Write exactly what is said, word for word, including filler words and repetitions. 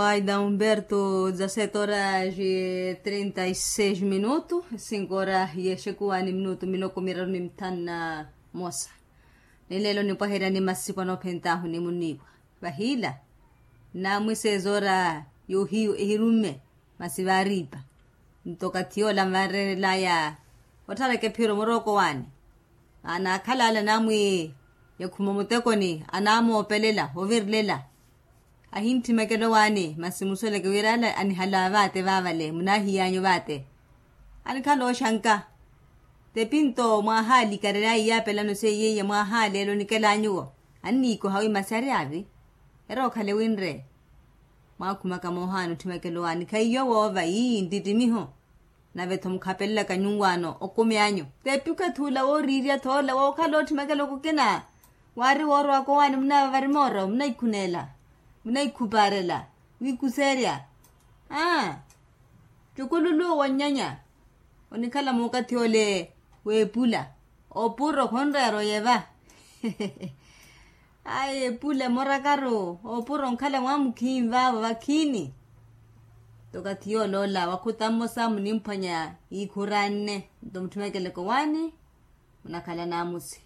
Aida humberto dezasete horas e trinta e seis minutu. Cinko horas yexekuwani minutu miloko miraru ni mithanu na mosa. Ni lelo nipwaheryani masipu anoophentahu ni muniipwa. Vahila namwiseeza ora yohiyu ehirumme. Masi vaaripa nto okathi yoola nvaarerelaya otharaka ephiro murookowaani. Maana akhala ale anamwi yakhuma mutekoni anamoopelela ovirilela. Ahintthimekela owaani masi musoleke wira ale anihala vaate vaavale munahiy'anyu vaate. Anikhala oxanka tepi nto mwahaali karelaya iyaapelano seiye iya mwahaali ele onikelanyuwo. Anniikoha wi masi ari avi. Ere okhale winre. Mwaakhumaka moohaana otthimekela owaani khaiyo woova ii nttittimiho. Nave-tho mukhapelelaka nyunwaano okumi anyu tepi okathi ula wooriirya-tho ola wookhala otthimekela okukina. Waari woorowaka owaani munavavari mooro munaikhuneela munaikhupaarela wiikuseerya. Aa. Ttukululuwo wa nnyanya onikhala muukathi ole. Weepula opuro khonreera oyeva. Ayi epula emorakaru opuro onkhala mwamukhiini vaavo vakhiini. Nto okathi yooloola wakhuta mmosa munimphwanya iikhuranne nto mutthimekeleke owaani. Munakhala naamusi